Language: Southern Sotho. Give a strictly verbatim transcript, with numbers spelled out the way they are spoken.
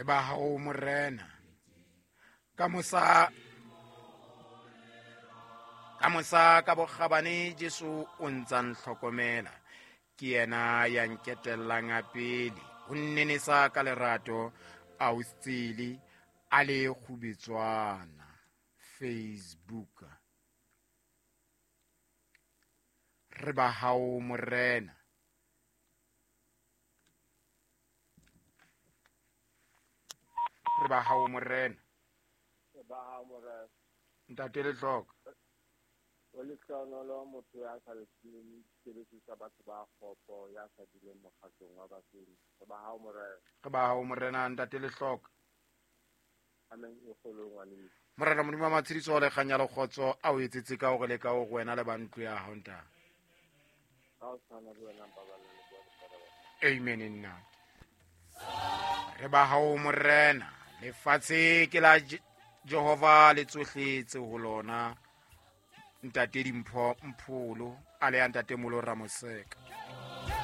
Re ba hao Morena. Ka mosa ka mosa ka bokgabane Jesu o ntsa ntlhokomela. Ke yena ya nketellang a pele. O nnenesa ka lerato a o tsele a le kgubetswana. Facebook. Re ba hao Morena. Re ba hao Morena. Re ba hao Morena. Ntate Letlhoka. O lehlohonolo motho ya sa letseng tshebetso tsa batho ba kgopo, ya sa duleng mokgatlong wa basenyi. Re ba hao Morena. Re ba hao Morena, Ntate Letlhoka. Amen e kgolo ngwaneso. Morena Modimo wa matshediso le kganya le kgotso a o etsetse ka hore le ka hore wena le ba ntlo ya hao ntate. Ka o tshwana le wena mpabalelo le bua le Amen nna. Re ba hao Morena. Lefatshe ke la Jehova le tsohle tse ho lona. Ntate Dimpho Mpholo a le ya Ntate Molo Ramoseka.